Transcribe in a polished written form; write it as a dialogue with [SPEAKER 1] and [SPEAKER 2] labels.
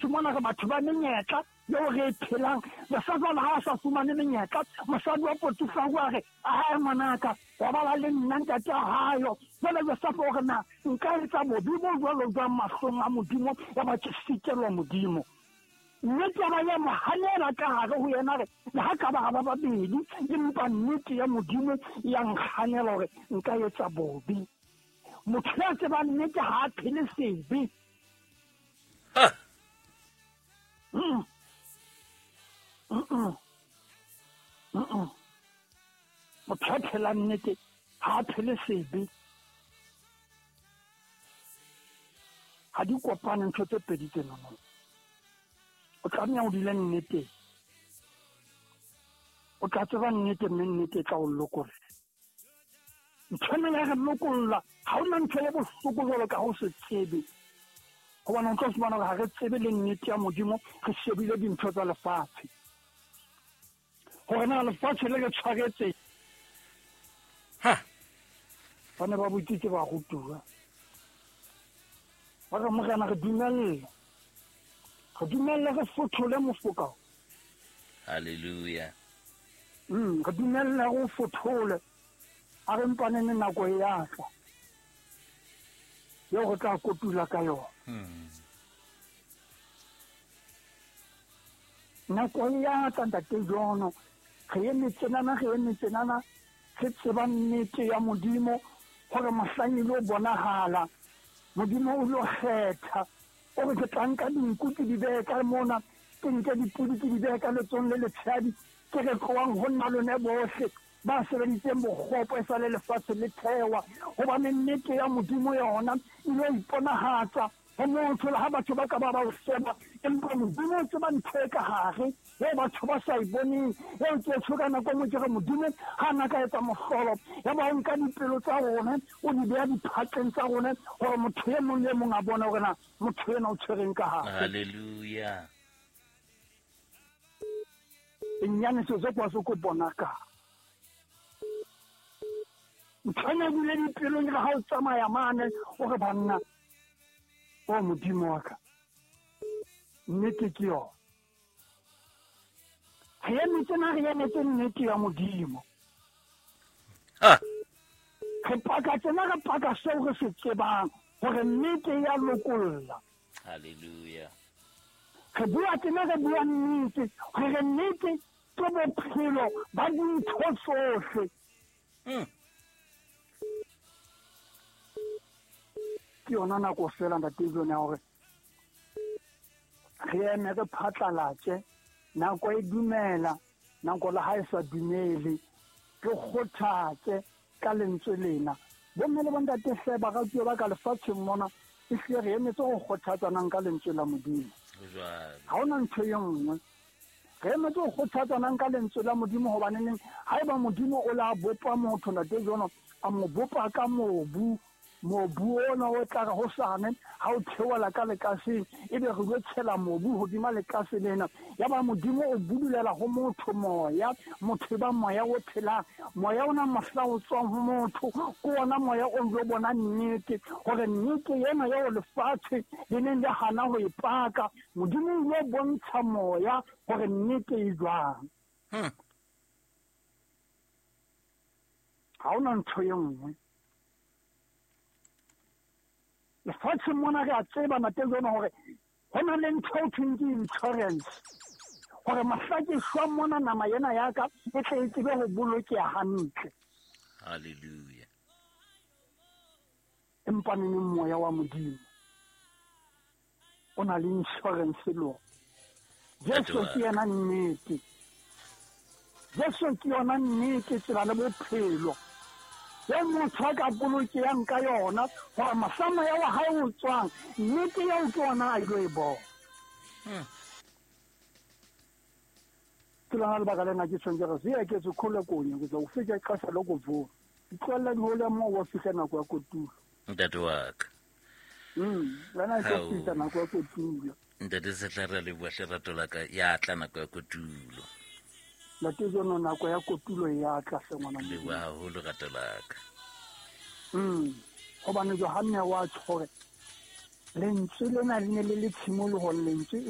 [SPEAKER 1] Lefatshe mona re batho ba menyetla eo re e phelang. Josefa le ha a sa fumane menyetla, mosadi wa Potifaro a re, Ae ngwanaka, robala le nna, ntate a hayo. Jwale Josefa o re, Na nka etsa bobe bo jwalo jwang mahlong a Modimo, yaba ke sitelwa Modimo? Mme taba ya mo hanela ka hare ho yena, re, Le ha ka ba ra ba babedi, empa nnete ya Modimo ya nkganela hore nka etsa bobe. Motho ya tsebang nnete ha a phele sebe.
[SPEAKER 2] Ha!
[SPEAKER 1] Mm. Mm-mm. Mm-mm. Motho ya phelang nnete ha a phele sebe. Ha di kopane ntho tse pedi tsenono. O tlameha o dule nneteng. O tla tseba nnete mme nnete e tla o lokolla. Ntho ena ya re lokolla, ha hona ntho e bohloko jwalo ka ho se tsebe. Hobane o tlo fumana hore ha re tsebe le nnete ya Modimo, re shebile dintho tsa lefatshe. Hore na lefatshe le re tshwaretse.
[SPEAKER 2] Ha.
[SPEAKER 1] Ba ne ba botsitse barutuwa. Ba re, Morena, re dumelle. Re dumelle re fothole mofoka.
[SPEAKER 2] Hallelujah.
[SPEAKER 1] Re dumelle re o fothole. A re mpanene nako e ya tla eo re tla kotula ka yona. Nako e ya tla, Ntate Jono. Re eme tsenana, re eme tsenana, re tseba nnete ya Modimo, gore mohlang e lo bonahala, Modimo o lo kgetha. O re, ke tla nka dinku ke di behe ka mona, ke nke dipodi ke di behe ka letsong le letshehadi, ke re tlohang ho nna lone bohle ba sebeditseng bokgopo e sa le lefatshe le thewa. Hobane nnete ya Modimo yona e lo iponahatsa ho motho, le ha batho ba ka ba ba o seba, empa Modimo o tseba ntho e ka hare eo batho ba sa e boneng. Eo ke tjho ka nako e nngwe ke re, Modimo ha na ka etsa mohlolo, ya ba o nka dipelo tsa rona o di beha diphatleng tsa rona, hore motho e mong le e mong a bone hore na motho ena o tshwereng ka hare.
[SPEAKER 2] Hallelujah.
[SPEAKER 1] Inyaniso zokwazi ukubonakala. Ntho ena e dule dipelong re ha o tsamaya mane o re banna, o Modimo wa ka, nnete ke yona. Re emetse na re emetse nnete ya Modimo.
[SPEAKER 2] Ha.
[SPEAKER 1] Re paka tsena, re paka seo re se tsebang hore nnete ya lokolla.
[SPEAKER 2] Hallelujah.
[SPEAKER 1] Re bua tsena, re bua nnete, hore nnete ke bophelo ba dintho tsohle. Ke yona nako fela, Ntate John, ya hore re eme re phatlalatse. Nako e dumela, nako le ha e sa dumele, re kgothatse ka lentswe lena. Bomme le bontate hle, baratuwa ba ka lefatsheng mona, ehlile re emetse ho kgothatsanang ka lentswe la Modimo. Ha hona ntho e nngwe. Re emetse ho kgothatsanang ka lentswe la Modimo, hobane neng haeba Modimo o la bopa motho, Ntate Jono, a mo bopa ka mobu, mobu ona o tla re hosane ha o theola ka lekaseng, ebe re lo tshela mobu hodima lekase lena. Yaba Modimo o budulela ho motho moya, motho e ba moya o phelang. Moya ona mohla o tswang ho motho, ke ona moya o lo bona nnete, hore nnete ena eo lefatshe le neng le hana ho e paka, Modimo o lo bontsha moya hore nnete e jwang. Ha hona ntho e nngwe. Lefatsheng mona re a tseba, Ntate Jono, hore ho na le ntho eo thweng ke insurance, hore mohla ke shwa mona nama ena ya ka e tle e tsebe ho bolokeha hantle.
[SPEAKER 2] Hallelujah.
[SPEAKER 1] Empa neneng moya wa Modimo o na le insurance le ona. Jesu ke yena nnete. Jesu ke yona nnete, tsela le bophelo. Eo motho a ka bolokehang ka yona, hore mohla moya wa hae o tswang, nnete eo ke yona a ilo e bona. Ke lona lebaka lena ke tjhong ke re, Ziyeketse khole konye, ke tla o fika ixesha lokuvuna. Ditlohelle di hole moo wa fihla nako ya kotulo.
[SPEAKER 2] Ntate wa ka.
[SPEAKER 1] Wena e tlo fihla nako ya kotulo.
[SPEAKER 2] Ntate Sehla, re a leboha hle rato la ka, ya tla nako ya kotulo.
[SPEAKER 1] Ntate Jono, nako ya kotulo e ya tla hle ngwana Modimo.
[SPEAKER 2] Leboha haholo rato la ka.
[SPEAKER 1] Hobane Johanne wa tjho hore lentswe lena le ne le le tshimolohong, lentswe